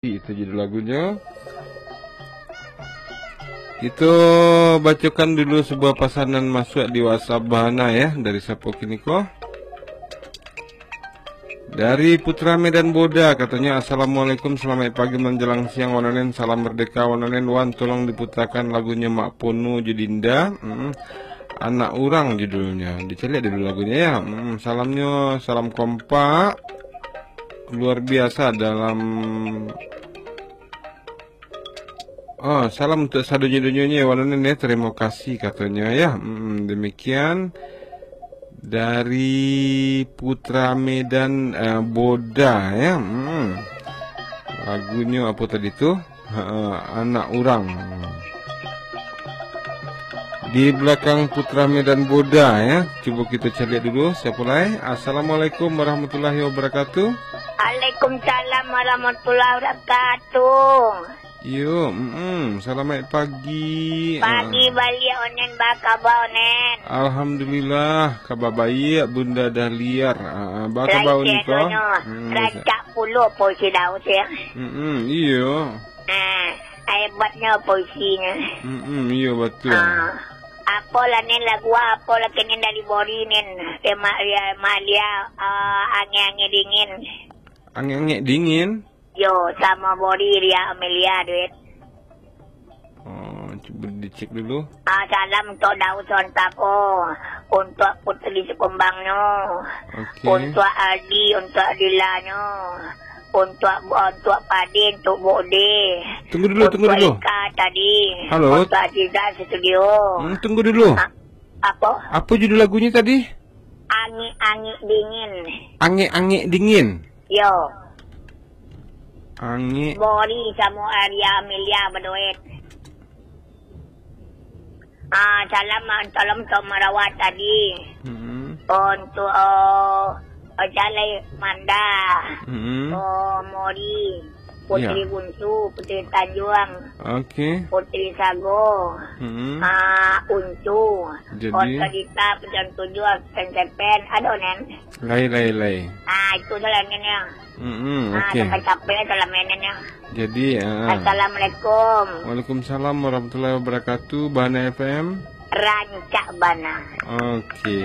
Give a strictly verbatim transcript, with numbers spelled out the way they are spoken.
Itu judul lagunyo. Kito bacokan dulu sebuah pasanan masuak di WhatsApp Bahana, ya, dari sapo kini ko. Dari Putra Medan Boda, katonyo, "Assalamualaikum, salamaik pagi manjalang siang, Wan Onen, salam merdeka, Wan Onen, Wan, tolong diputakan lagunyo Mak Pono jo Dinda, mm, Anak Urang judulnyo." Dicaliak dulu lagunyo, ya. Mm, salamnyo, salam kompak, luar biasa dalam Oh, salam untuk sadonyo-donyonyo, Wan Onen, ya. Terima kasih, katonyo, ya. Mm, demikian dari Putra Medan, eh, Boda, ya. Mm. Lagunyo apo tadi tu? Ha, Anak Urang. Di belakang Putra Medan Boda, ya. Cubo kito caliak dulu, siapo lai? Assalamualaikum warahmatullahi wabarakatuh. Waalaikumsalam warahmatullahi wabarakatuh. Iyo, mm-mm. Salamaik pagi. Pagi Ah. baliak, Onen, ba kaba, Onen? Alhamdulillah, kaba baiak, Bunda Dahliar. Ah, ah, ba kaba Lai uni ko? Tiadonyo, Mm, rancak pulo puisi Daud, ya. Mm-mm, iyo. Ah, hebatnyo puisinyo. Mm-mm, iyo, batua. Ah, apo lah, Nen, lagu apo lah kini dari Bori, Nen? Dia ma-, dia Malia, ah, Angin-angin Dingin. Angin-angin Dingin? Yo, samo Bori, Ria Amelia, duit. Oh, cubo dicek dulu. Ah, salam untuk Daud Sontako, untuk Putri Sikumbangnyo, Oke. untuk Aldi, untuk Adilanyo, untuk, untuk Padi, untuk Bode, Tunggu dulu, tunggu untuk dulu. Ika tadi, Halo. untuk Aziza Studio. Hmm, tunggu dulu. Ah, apo? Apo judul lagunyo tadi? Angik-angik Dingin. Angik-angik Dingin? Yo. Angik. Bori samo Arya Amelia baduet. Ah, salam, ah, salam untuk Marawat tadi. Hmm. Untuk, oh, Jalai Manda. Hmm. Oh, Mori. Putri Ya. Bunsu, Putri Tanjuang. Oke. Putri Sago. Hmm. Ah, Uncu. Jadi? Kota Dita, Pejam Tujuh, Pen Sepen. Ado, Nen? Lai, lai, lai. Ah, itu salam, Nen, ya. Mm-mm, Ah, oke. Sampai capek salam, Nen, ya. Jadi, ah. Assalamualaikum. Waalaikumsalam warahmatullahi wabarakatuh. Bahana F M. Rancak bana. Oke.